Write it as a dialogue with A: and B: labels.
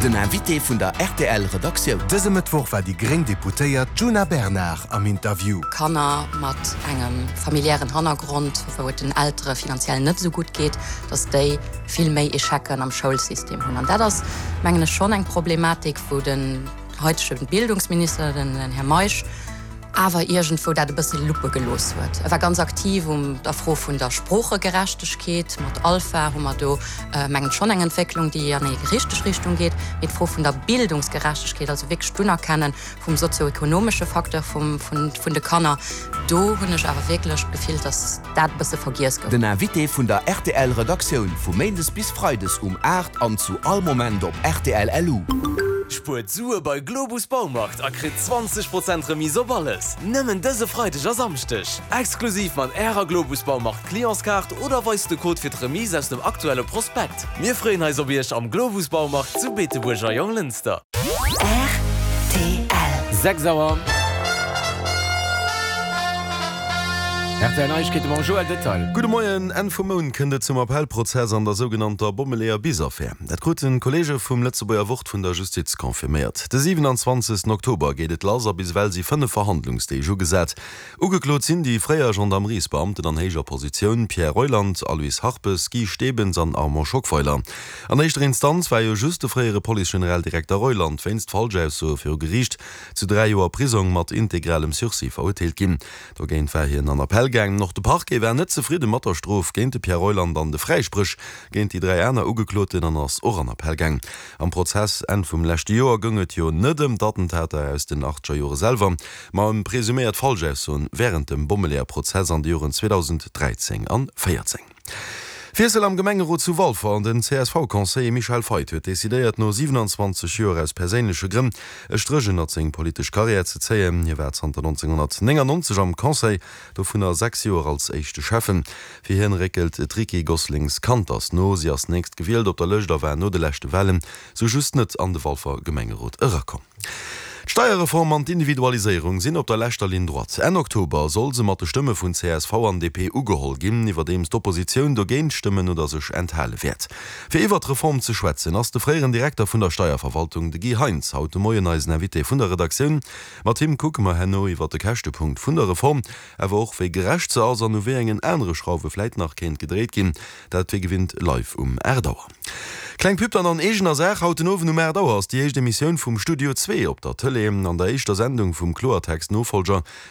A: Den Invité vun der rtl Redaktioun.
B: Dëse Mëttwoch war déi gréng Deputéiert Djuna Bernard am Interview.
C: Kanner mat engem familiären Hannergrond, wou et den Eltere finanziell net esou gutt geet, datt déi vill méi Echecen am Schoulsystem hunn. An dat ass, mengen ech, schonn eng Problematik, wou den haitege Bildungsminister, den Här Meisch, awer iergendwou dat e bësse luppe gelooss huet. E war ganz aktiv um der Fro vun der Sproochegerechtegkeet. Mat Alpha hu mer do, mengen ech, schonn eng Entwécklung, déi an déi richteg Richtung geet. Mee d'Fro vun der Bildungsgerechtegkeet, also wierklech d'Unerkenne vum sozioekonomesche Facteur vum, vun de Kanner, do hunn ech awer wierklech d'Gefill, dass dat e bësse vergiess gouf.
A: Den Invité vun der rtl Redaktioun vu Méindes bis Freides um 8 an zu all Moment op rtl LU.
D: Spuert Sue bei Globus Baumarkt a kritt 20 Prozent Remise op alles! Nëmmen dëse Freideg a Samschdeg! Exklusiv mat Ärer Globus Baumarkt Clientskaart oder weist de Code fir d'Remise aus dem aktuelle Prospekt. Mir freeën eis op Iech am Globus Baumarkt zu Beetebuerg a Jonglënster.
E: Rtl.
F: 6 Auer. Rtl Neiegkeete mam Joël Detail.
G: Gudde Moien. Enn vum Mount kënnt et zum Appellprozess an der sougenannter Bommeleeër-Bis-Affär. Dat kruten d'Kolleege vum Lëtzebuerger Wort vun der Justiz confirméiert. De 27 Oktober geet et lass a bis ewell si 5 Verhandlungsdeeg ugesat. Ugeklot sinn déi fréier Gendarmeriesbeamten an héijer Positioun Pierre Reuland, Aloyse Harpes, Guy Stebens an Armand Schockweiler. An éischter Instanz war jo just de fréiere Police-Generaldirekter Reuland wéinst Falschaussoe viru Geriicht zu 3 Joer Prisong mat integralem Sursis verurteelt ginn. Dogéint war hien an Appell gaangen. Och de Parquet war net zefridde mat der Strof géint de Pierre Reuland an de Fräispréch géint déi 3 aner Ugekloten an ass och an Appell gaang. Am Prozess Enn vum leschte Joer goung et jo net ëm d'Attentater aus den achtzeger Jore selwer, ma ëm presuméiert Falschaussoen wärend dem Bommeleeër-Prozess an de Joren 2013 an 14. Wiessel am Gemengerot zu Walfer, Den CSV-Conseiller Michel Feith huet decidéiert, no 27 Joer aus perséinleche Grënn e Stréch ënnert seng politesch Karriär ze zéien. Hie war zanter 1999 am Conseil, dovunner 6 Joer als éischte Schäffen. Fir hien réckelt d'Ricky Gosselings-Kanters no. Si ass nächst gewielt op der Lëscht a war no de leschte Walen sou just net an de Walfer Gemengerot erakomm. D'Steierreform an d'Individualiséierung sinn op der leschter Ligne droite. Enn Oktober soll se mat de Stëmme vun csv an DP ugeholl ginn, iwwerdeems d'Oppositioun dogéint stëmmen oder sech enthale wäert. Fir iwwert d'Reform ze schwätzen, ass de fréieren Direkter vun der Steierverwaltung, de Guy Heintz, haut de Moien eisen Invité vun der Redaktioun. Mat him kucke mer herno iwwert de Käschtepunkt vun der Reform, Awer och wéi gerecht se ass an u wéi engen anere Schrauwe vläit nach kéint gedréit ginn, dat wéi gewinnt live um 8 Auer. Kleng Pub dann an eegener Saach, Haut den Owend um 8 Auer ass déi éischt Emissioun vum Studio Zwee op der Tëlee. An der éischter Sendung vum Kloertext-Nofollger.